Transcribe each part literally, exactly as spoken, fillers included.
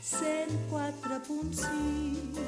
cent quatre punt sis.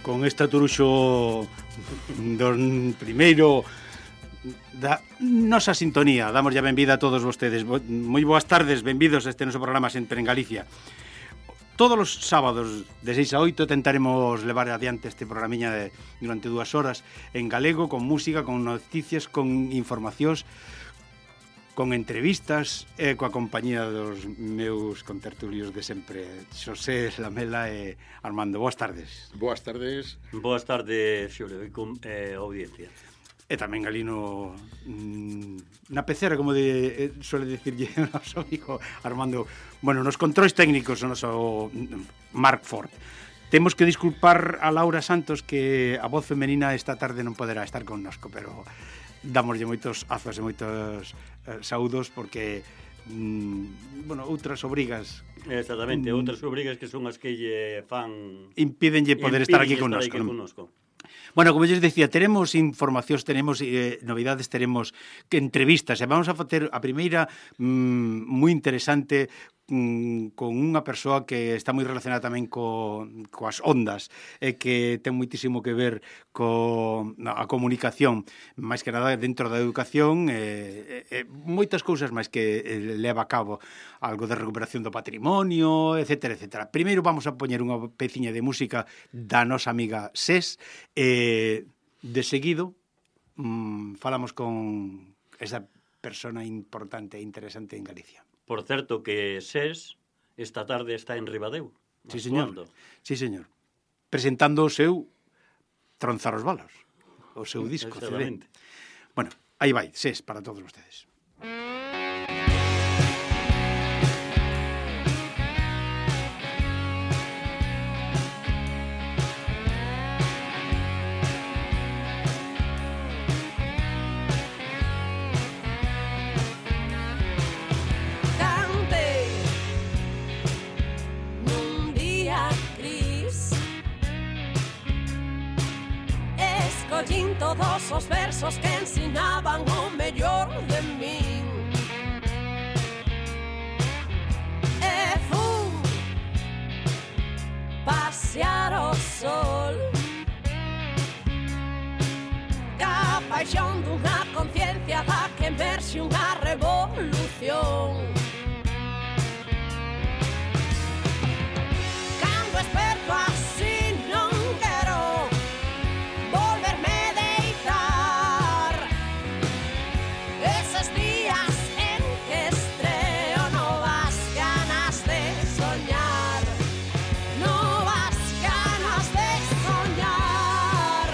Con esta turuxo do primeiro da nosa sintonía. Damos ya benvida a todos vostedes. Moi boas tardes, benvidos a este noso programa Sempre en Galicia. Todos os sábados de seis a oito tentaremos levar adiante este programiña de, durante dúas horas en galego, con música, con noticias, con informacións, con entrevistas e coa compañía dos meus contertulios de sempre, Xosé Lamela e Armando. Boas tardes. Boas tardes. Boas tardes, Xulio, e con eh, audiencia. E tamén ali no, na pecera, como de, eh, suele dicirlle o noso amigo Armando, bueno, nos controis técnicos o noso Marc Ford. Temos que disculpar a Laura Santos que a voz femenina esta tarde non poderá estar connosco, pero damoslle moitos azos e moitos eh, saúdos porque mm, bueno, outras obrigas exactamente, mm, outras obrigas que son as que lle fan impídenlle poder estar aquí connosco, aquí non? connosco. Bueno, como lles dicía, teremos informacións, teremos eh, novidades, teremos que entrevistas, e vamos a facer a primeira mm, moi interesante mm, con unha persoa que está moi relacionada tamén co, coas ondas e que ten moitísimo que ver co a comunicación, máis que nada dentro da educación e, e, e moitas cousas máis que eh, leva a cabo, algo de recuperación do patrimonio, etcétera, etcétera. Primeiro vamos a poñer unha peciña de música da nosa amiga Ses e de seguido mmm, falamos con esa persona importante e interesante en Galicia. Por certo que Ses esta tarde está en Ribadeo. Sí, señor. Sí, señor. Presentando o seu Tronzar os balos, o seu disco, C D. Bueno, aí vai, SES para todos vostedes. Escollín todos os versos que ensinaban o mellor de min. E fun pasear o sol ca paixón dunha conciencia da que emerxe unha revolución. Cando esperto así non quero volverme deitar. Eses días en que estreo novas ganas de soñar, novas ganas de soñar.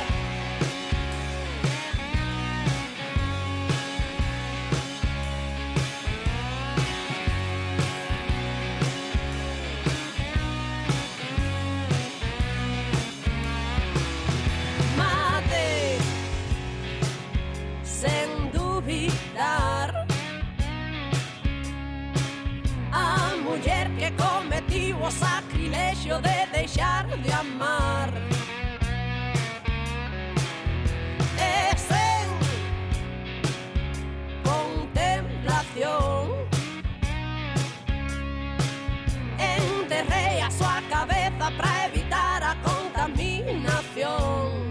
Mate sen dubidar a muller que cometiu o sacrilexio de deixar de amar. E sen contemplación enterrei a súa cabeza para evitar a contaminación.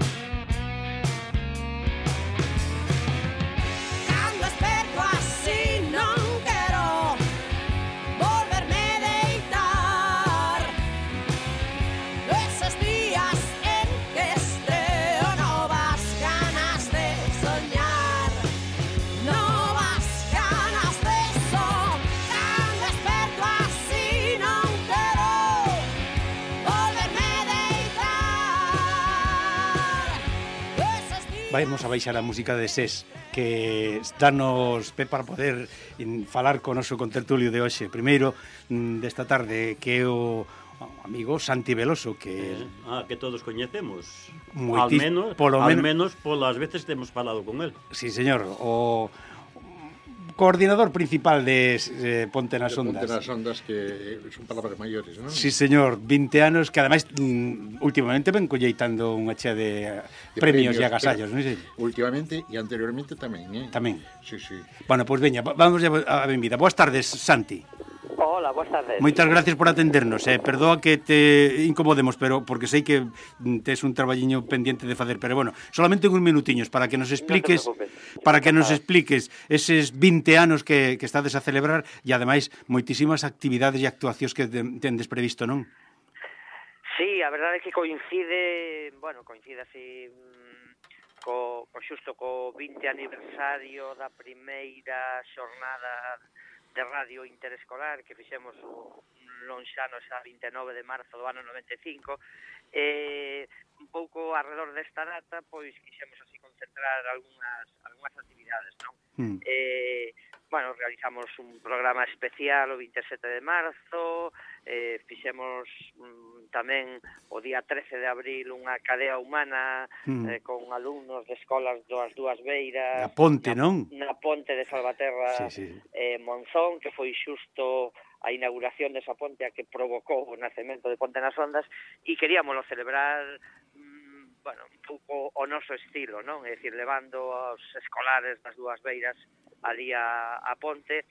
Cando esperto así non quero volverme deitar. Eses días en que estreo novas ganas de soñar, novas ganas de soñar. Cando esperto así non quero volverme deitar. Eses días... Vamos a baixar a música de SES, que danos pé para poder in, falar con o noso contertulio de hoxe. Primeiro, mm, desta tarde, que é o amigo Santi Veloso, que... Eh, ah, que todos coñecemos. Moitis- Al menos, polo al menos- menos polas veces que hemos falado con él. Sí, señor, o coordinador principal de eh, Ponte nas Ondas. Ponte nas Ondas, que son palabras maiores, non? Sí, señor, vinte anos, que ademais mm, últimamente ven colleitando unha chea de, De premios, premios, e agasallos, pero non sei? Últimamente e anteriormente tamén, eh? Tamén. Sí, sí. Bueno, pois pues veña, va- vamos a benvida. Boas tardes, Santi. Hola, boas tardes. Moitas gracias por atendernos, eh. Perdoa que te incomodemos, pero porque sei que mm, tes un traballiño pendiente de facer, pero bueno, solamente uns minutiños para que nos expliques, No te preocupes. para que nos expliques eses vinte anos que, que estades a celebrar e ademais moitísimas actividades e actuacións que de, tendes previsto, non? Sí, a verdade é que coincide, bueno, coincide así mm, co, co xusto co vinte aniversario da primeira xornada de radio interescolar que fixemos o lonxano xa vinte e nove de marzo do ano noventa e cinco. E un pouco alrededor desta data, pois quixemos así concentrar algunhas algunhas actividades, non? Mm. Eh, bueno, realizamos un programa especial o vinte e sete de marzo, eh, fixemos mm, tamén o día trece de abril unha cadea humana Mm. eh, con alumnos de escolas das dúas beiras. A Ponte, na, non? Na Ponte de Salvaterra, Sí, sí. eh, Monzón, que foi xusto a inauguración desa ponte a que provocou o nacemento de Ponte nas Ondas, e queríamoslo celebrar mm, bueno, un pouco o noso estilo, non? É dicir, levando aos escolares das dúas beiras ali a, a ponte,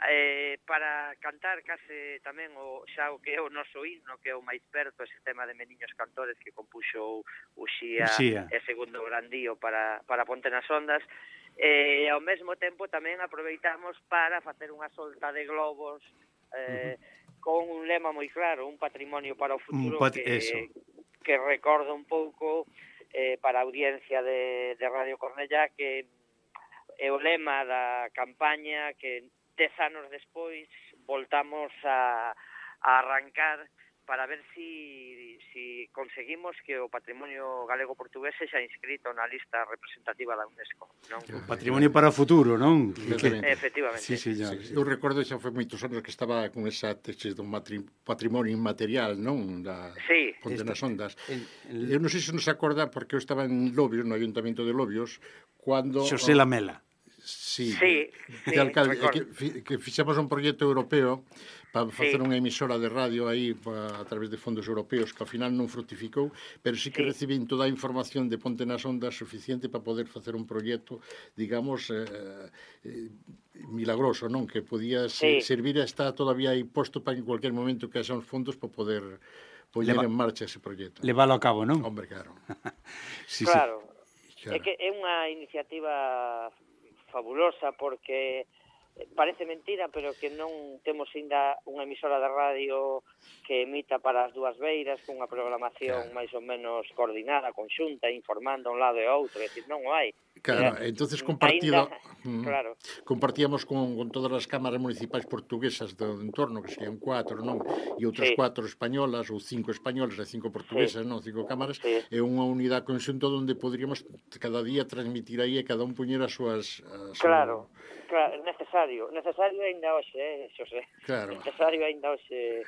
eh, para cantar case tamén o xa o que é o noso himno, que é o máis perto, ese tema de Meniños Cantores que compuxo o Xía, Uxía. e segundo grandío para, para Ponte nas Ondas. E ao mesmo tempo tamén aproveitamos para facer unha solta de globos eh, uh-huh. con un lema moi claro, un patrimonio para o futuro, pat- que, eso. que recorda un pouco eh, para a audiencia de, de Radio Cornellá, que é o lema da campaña que dez anos despois voltamos a, a arrancar para ver si, si conseguimos que o patrimonio galego-portugués sexa inscrito na lista representativa da UNESCO, non? O patrimonio para o futuro, non? Exactamente. Efectivamente. Sí, señor. Sí, eu recordo xa foi moitos anos que estaba con esa tesis do matri- patrimonio inmaterial, non? Da Sí. Ponte nas Ondas. El, el... Eu non sei se nos acorda, porque eu estaba en Lobios, no Ayuntamiento de Lobios, cando... Xosé Lamela. Sí, Sí, que, sí, alcalde, recordo. que, fi- que fixemos un proxecto europeo para facer Sí. unha emisora de radio aí pa, a través de fondos europeos que ao final non fructificou, pero sí que Sí. recibín toda a información de Ponte nas Ondas suficiente para poder facer un proxecto, digamos, eh, eh, milagroso, non? Que podía se, Sí. servir a estar todavía aí posto para en cualquier momento que haxa uns fondos para poder poñer Leva- en marcha ese proxecto. Levalo a cabo, non? Hombre, claro. Sí, Claro. Claro. É que é unha iniciativa fabulosa porque parece mentira, pero que non temos ainda unha emisora de radio que emita para as dúas beiras cunha programación Claro. máis ou menos coordinada, conxunta, informando a un lado e ao outro, é dicir, non o hai. Claro, Eh, entonces compartido, Ainda, mm, claro, compartíamos con, con todas as cámaras municipais portuguesas do entorno, que serían cuatro, non? E outras Sí. cuatro españolas, ou cinco españolas e cinco portuguesas, non? Cinco cámaras, Sí. é unha unidade conxunta onde poderíamos cada día transmitir aí e cada un poñer as súas... As claro, claro, necesario, necesario aínda hoxe, eh, Xosé. Claro. Necesario aínda hoxe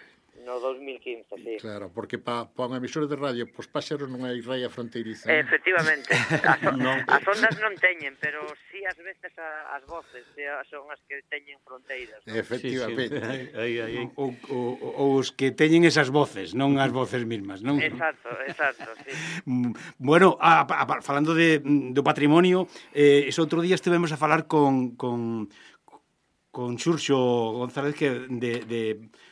no dos mil quince, sí. Claro, porque pa, pa unha emisora de radio, pos páxaros non hai raia fronteiriza. non? Efectivamente, as, Non. as ondas non teñen, pero sí as veces a, as voces sí, son as que teñen fronteiras. ¿no? Efectivamente. Sí, sí. Aí, aí, aí. O, o, o os que teñen esas voces, non as voces mismas, non? Exacto, exacto, sí. Mm, Bueno, a, a, a, falando de, do patrimonio, eh, ese outro día estivemos a falar con, con, con Xurxo González que de, de,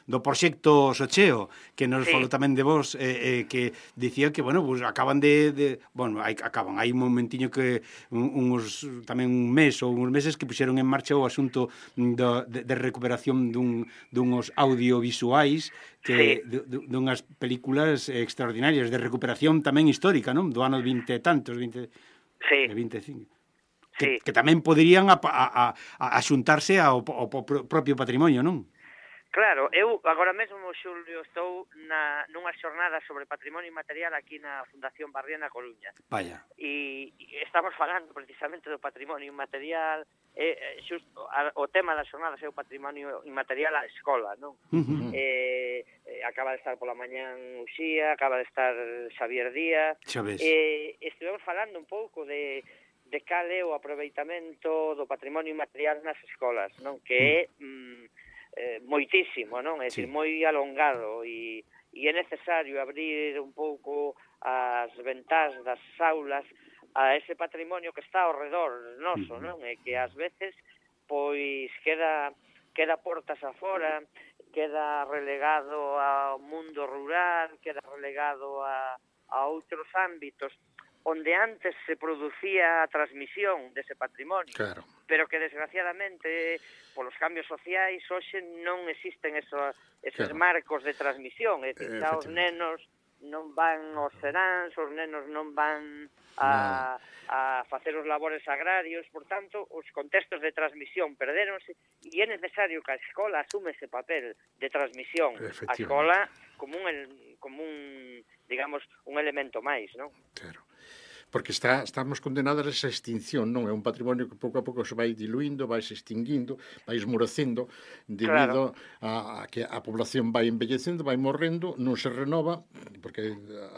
do proxecto Socheo, que nos Sí. falou tamén de vos, eh, eh, que dicía que, bueno, pues acaban de, de bueno, hai, acaban, hai un momentiño que un, uns, tamén un mes ou uns meses que puxeron en marcha o asunto do, de, de recuperación dun, dunhos audiovisuais que, Sí. de, de, dunhas películas extraordinarias de recuperación tamén histórica, non? Do ano vinte e tantos, vinte, Sí, de vinte e cinco. sí. Que, que tamén poderían a, a, a, a xuntarse ao, ao propio patrimonio, non? Claro, eu agora mesmo, Xulio, estou na, nunha xornada sobre patrimonio inmaterial aquí na Fundación Barría na Coruña. Vaya. E, e estamos falando precisamente do patrimonio inmaterial, e, e xusto, a, o tema das xornadas é o patrimonio inmaterial á escola, non? Uh-huh. Eh, eh, acaba de estar pola mañán Uxía, acaba de estar Xavier Díaz, Xa ves. e estivemos falando un pouco de, de cal é o aproveitamento do patrimonio inmaterial nas escolas, non? Que é mm, eh, moitísimo, non? É dicir, Sí. moi alongado e, e é necesario abrir un pouco as ventás das aulas a ese patrimonio que está ao redor noso, non? E que ás veces pois queda queda portas afora, queda relegado ao mundo rural, queda relegado a, a outros ámbitos onde antes se producía a transmisión dese patrimonio, Claro. pero que desgraciadamente polos cambios sociais hoxe non existen esos, esos Claro. marcos de transmisión, é dicir, xa os Efectivamente. nenos non van aos seráns, os nenos non van a, a facer os labores agrarios, por tanto, os contextos de transmisión perderonse e é necesario que a escola asume ese papel de transmisión. A Efectivamente. escola como un, el- como un digamos, un elemento máis, non? Claro. Porque está, estamos condenados a esa extinción, non? É un patrimonio que pouco a pouco se vai diluindo, vai se extinguindo, vai esmorecendo debido Claro. a, a que a población vai envellecendo, vai morrendo, non se renova, porque ah,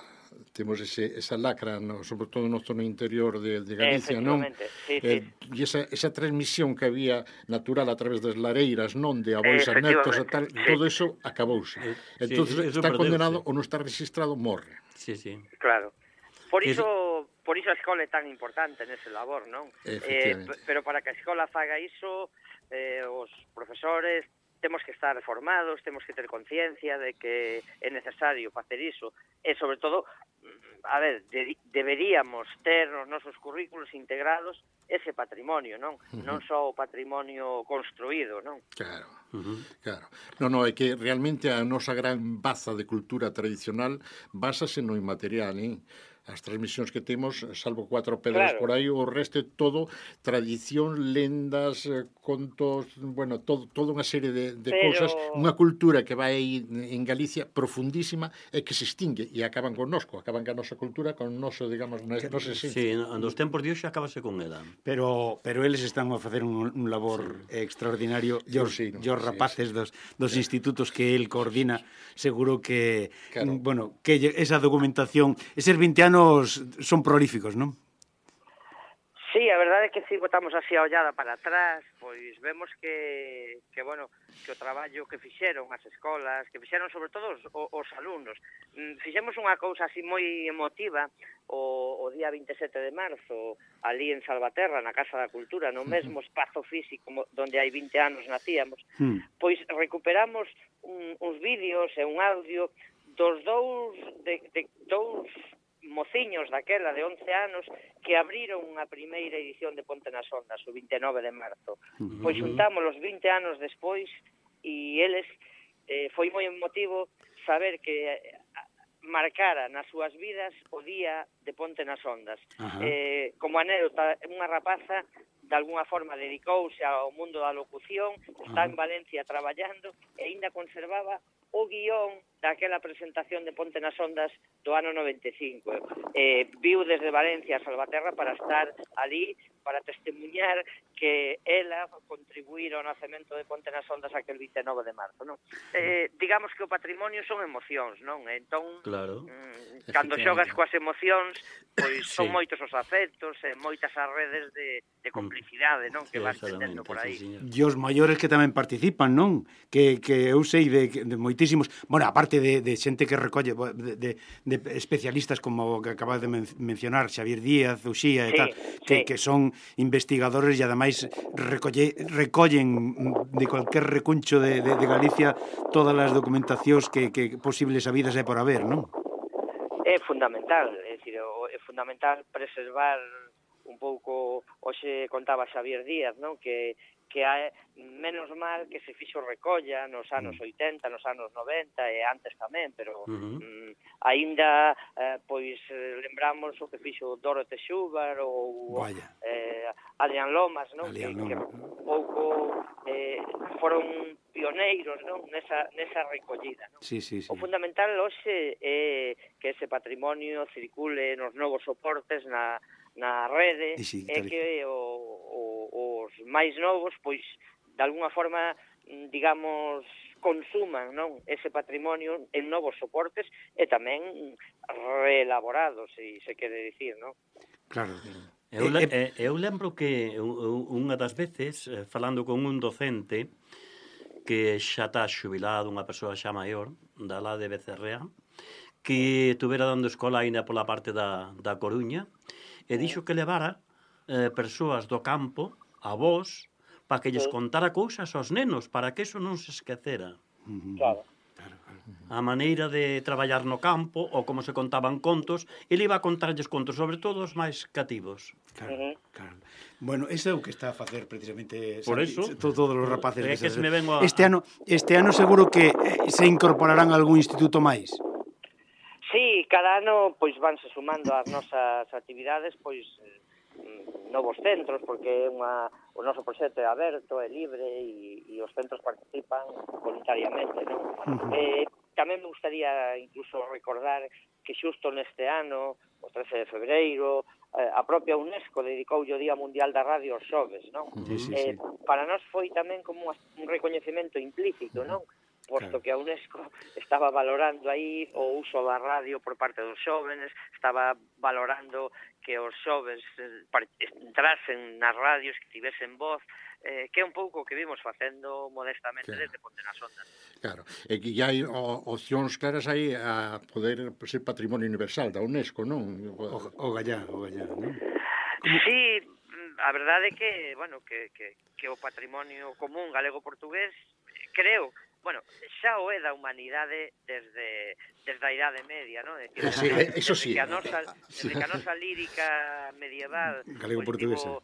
temos ese, esa lacra, no, sobre todo no zona interior de, de Galicia, non? Efectivamente, sí, sí. Eh, e esa, esa transmisión que había natural a través das lareiras, non? De avós a netos e tal, Efectivamente, sí. todo eso acabouse. Eh, Entón, sí, eso está perdeuse. condenado ou non está registrado, morre. Sí, sí. Claro. Por Que iso, por iso a escola é tan importante nese labor, non? Eh, Efectivamente. p- pero para que a escola faga iso, eh, os profesores temos que estar formados, temos que ter conciencia de que é necesario facer iso. E, sobre todo, mm, a ver, de, deberíamos ter nos nosos currículos integrados ese patrimonio, non? Uh-huh. Non só o patrimonio construído, non? Claro. Uh-huh. Claro. Non, non, é que realmente a nosa gran baza de cultura tradicional básase no inmaterial, eh? as transmisións que temos, salvo cuatro pedras Claro. por aí, o resto é todo tradición, lendas, eh, contos, bueno, todo, toda unha serie de, de Pero- cousas, unha cultura que vai aí en Galicia profundísima e que se extingue e acaban connosco, acaban ca nosa cultura, con noso, digamos, nos esencia. Sí, nos tempos de hoxe acabase con ela. Pero pero eles están a facer un, un labor sí. extraordinario. E os, Sí, no, os rapaces sí, sí. dos, dos sí. institutos que el coordina, seguro que, Claro. bueno, que esa documentación, eses vinte anos son prolíficos, non? Sí, a verdade é que si botamos así a ollada para atrás, pois vemos que, que bueno, que o traballo que fixeron as escolas, que fixeron sobre todo os, os alumnos. Fixemos unha cousa así moi emotiva o, o día vinte e sete de marzo, ali en Salvaterra, na Casa da Cultura, no mesmo espazo físico donde hai vinte anos nacíamos, mm. pois recuperamos un, uns vídeos e un audio dos dous, de, de dous mociños daquela de once anos que abriron a primeira edición de Ponte nas Ondas o vinte e nove de marzo. Uh-huh. Pois juntamos os vinte anos despois e eles eh, foi moi emotivo saber que eh, marcara nas súas vidas o día de Ponte nas Ondas. Uh-huh. Eh, como anécdota, unha rapaza de alguna forma dedicouse ao mundo da locución, está uh-huh. en Valencia traballando e aínda conservaba o guión daquela presentación de Ponte nas Ondas do ano noventa e cinco. Eh, viu desde Valencia a Salvaterra para estar ali, para testemunhar que ela contribuíra ao nacemento de Ponte nas Ondas aquel vinte e nove de marzo, non? Eh, digamos que o patrimonio son emocións, non? Entón, claro. mm, cando xogas coas emocións, pois sí. son moitos os afectos e moitas as redes de, de complicidade, non? Que vas tendendo por aí. Sí, e os maiores que tamén participan, non? Que, que eu sei de, de moitísimos, bueno, aparte de, de xente que recolle, de, de, de especialistas como que acabas de men mencionar, Xavier Díaz, Uxía e sí, tal, que, sí. que son investigadores e ademais recolle, recollen de cualquier recuncho de, de, de Galicia todas as documentacións que, que posibles habidas é por haber, non? É fundamental, é dicir, é fundamental preservar un pouco, hoxe contaba Xavier Díaz, non? Que que hai menos mal que se fixo recolla nos anos oitenta, nos anos noventa e antes tamén, pero uh-huh. mm, aínda eh, pois lembramos o que fixo Dorothy Schubar ou eh, Adrián Lomas, non? Adrián que, Lomas. que pouco eh, foron pioneiros, non? Nesa, nesa recollida, non? Sí, sí, sí. O fundamental hoxe é que ese patrimonio circule nos novos soportes na na rede e que o, o, os máis novos pois de alguna forma digamos consuman, non, ese patrimonio en novos soportes e tamén reelaborados, se se quere dicir, non? Claro. Eu, eh, eu lembro que unha das veces falando con un docente que xa está xubilado, unha persoa xa maior da lá de Becerrea, que tuvera dando escola aínda pola parte da, da Coruña, e dixo que levara eh, persoas do campo, avós, para que lles contara cousas aos nenos, para que eso non se esquecera. Claro. A maneira de traballar no campo, ou como se contaban contos, ele iba a contarlles contos, sobre todo os máis cativos. Claro, uh-huh. claro. Bueno, eso é o que está a facer precisamente Por eso, todos os rapaces. É que se me vengo a... Este ano, este ano seguro que se incorporarán a algún instituto máis. Sí, cada ano pois vanse sumando ás nosas actividades pois novos centros, porque é unha, o noso proxecto é aberto, é libre e, e os centros participan voluntariamente, non? Uh-huh. Eh, tamén me gustaría incluso recordar que xusto neste ano, o trece de febreiro, eh, a propia UNESCO dedicou o Día Mundial da Radio aos xoves, non? Sí, sí, eh, sí. Para nós foi tamén como un recoñecemento implícito, non? Posto claro. que a UNESCO estaba valorando aí o uso da radio por parte dos xóvenes, estaba valorando que os xóvenes entrasen nas radios, que tivesen voz, eh, que é un pouco o que vimos facendo modestamente claro. desde Ponte nas Ondas. Claro, e que hai opcións claras aí a poder ser patrimonio universal da UNESCO, non? O, o gallá, o gallá, non? Sí, a verdade é que, bueno, que, que, que o patrimonio común galego-portugués, creo, bueno, xa o é da humanidade desde, desde a Idade Media, non? Decir, sí, desde, eso sí. Que a nosa, desde que a nosa lírica medieval galego-portuguesa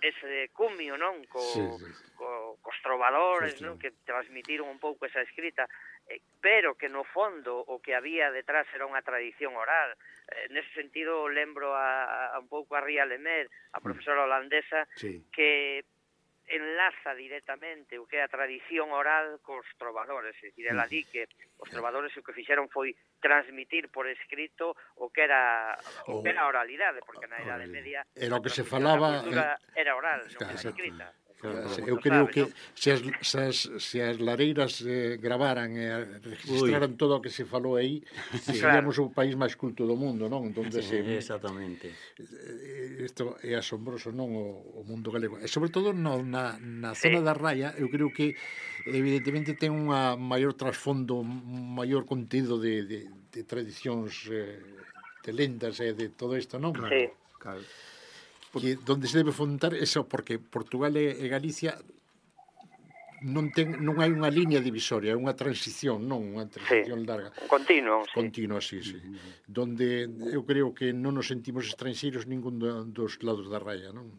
ese es, cumio, non? Co, sí, sí. Co, cos trovadores, sí, sí. non? Que transmitiron un pouco esa escrita. eh, pero que no fondo o que había detrás era unha tradición oral. Eh, nese sentido lembro a, a un pouco a Ria Lemer, a profesora holandesa, Sí. que enlaza directamente o que é a tradición oral cos trovadores, é dicir, ela di que os trovadores o que fixeron foi transmitir por escrito o que era o que era a oralidade, porque na Idade Media era o que se a transmisión da falaba, cultura era oral, non Claro, era escrita. Se- Como Eu creo sabe, que non? se as, se as, se as lareiras eh, gravaran e eh, registraran todo o que se falou aí, seríamos o país máis culto do mundo, non? Entón, Sí, eh, exactamente. isto é asombroso, non, o, o mundo galego. E sobre todo no, na, na zona da Raya, eu creo que evidentemente ten unha maior trasfondo, un maior contido de, de, de tradicións, eh, de lendas e de todo isto, non? Sí. Claro. Que donde se debe fundar eso, porque Portugal e, e Galicia non ten non hai unha línea divisoria, é unha transición, non unha transición Sí. larga. Un continuo, sí. Continua, sí, sí. Donde eu creo que non nos sentimos estranxeiros ningún do- dos lados da raya, non?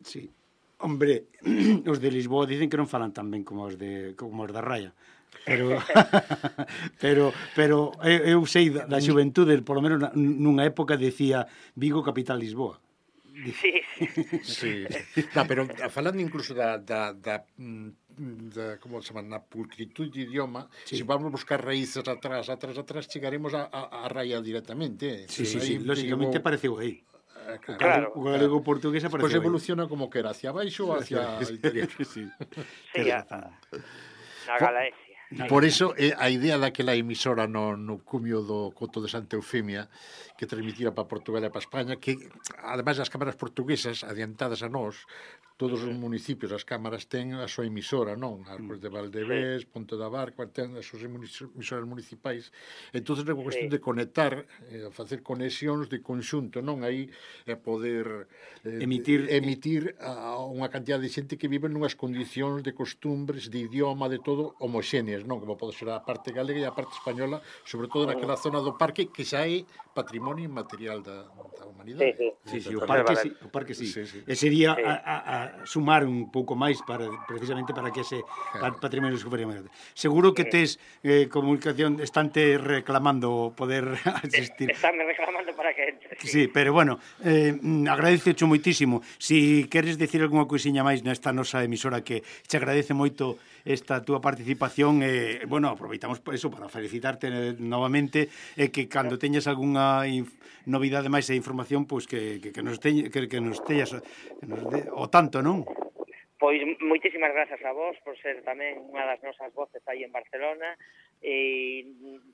Sí. Hombre, os de Lisboa dicen que non falan tan ben como os de como os da Raya. Pero pero pero eu, eu sei da, da xuventude, por lo menos na- nunha época decía Vigo capital Lisboa. Sí, Sí. sí. Da, pero falando incluso da, da, da, mm, da como se chama, na pulcritud de idioma, Sí. se vamos buscar raíces atrás, atrás, atrás, chegaremos a, a, a raya directamente. Sí, sí, Aí sí, lógicamente digo, pareceu aí. eh, O Claro. galego, o galego portugués Pois apareceu aí. evoluciona como que era, hacia baixo ou hacia o interior. Sí. Sí, a, na Galaesia. Por eso é a idea daquela emisora no, no cumio do Coto de Santa Eufemia que transmitira para Portugal e para España, que ademais as cámaras portuguesas adiantadas a nós, todos os municipios, as cámaras ten a súa emisora, non? As de Valdevés, Ponte da Barca, ten as súas emisoras municipais. Entón é unha cuestión Sí. de conectar, eh, facer conexións de conxunto, non? Aí é poder eh, Emitir- emitir a unha cantidad de xente que vive nunhas condicións de costumbres, de idioma, de todo homoxéneas, non? Como pode ser a parte galega e a parte española, sobre todo naquela zona do parque que xa é patrimonio inmaterial da, da humanidade. Sí, Sí, sí, o Totalmente. parque sí, o parque sí. Sí, sí. E sería Sí. a, a, a sumar un pouco máis para precisamente para que ese Claro. patrimonio se fuera máis. Seguro que tes eh, comunicación estante reclamando poder asistir. Estánme reclamando para que entre. Sí, pero bueno, eh, agradececho moitísimo. Si queres decir algunha cousiña máis nesta nosa emisora que te agradece moito esta túa participación, eh, bueno, aproveitamos por eso para felicitarte eh, novamente e eh, que cando teñas algunha inf- novidade máis e información, pois que, que, que nos teña, que, que nos teñas que nos de, o tanto, non? Pois moitísimas grazas a vos por ser tamén unha das nosas voces aí en Barcelona e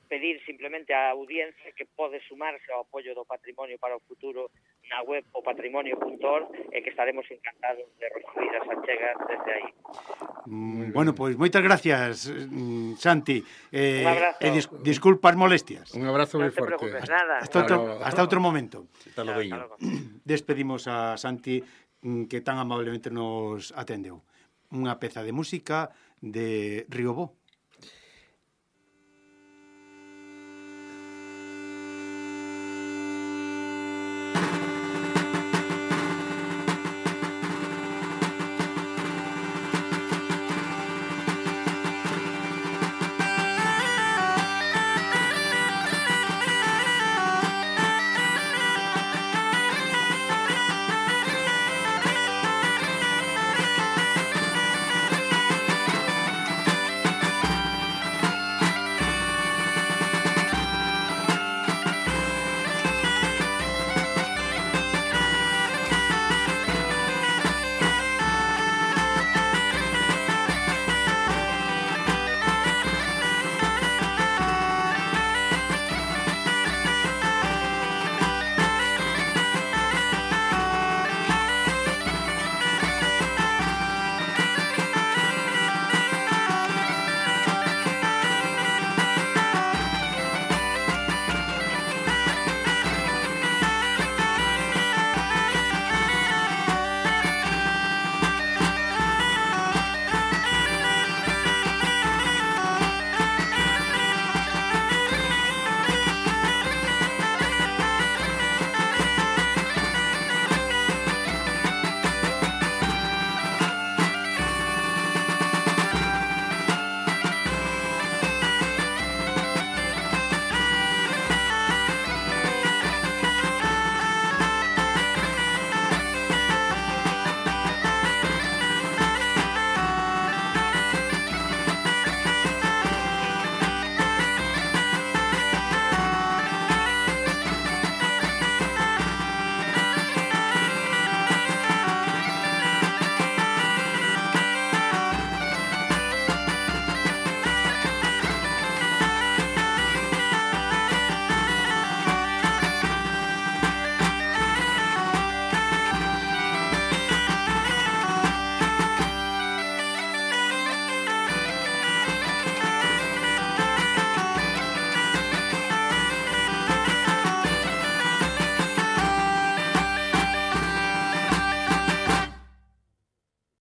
pedir simplemente á audiencia que pode sumarse ao apoio do patrimonio para o futuro na web o patrimonio punto org e que estaremos encantados de recibir as achegas desde aí. Mm, bueno, pois moitas gracias, mm, Santi. Eh, Un abrazo. e dis, disculpas molestias. Un abrazo Non moi te forte. preocupes, nada. Hasta outro, Claro. hasta outro momento. Hasta logo. Hasta logo. Despedimos a Santi, mm, que tan amablemente nos atendeu. Unha peza de música de Riobó.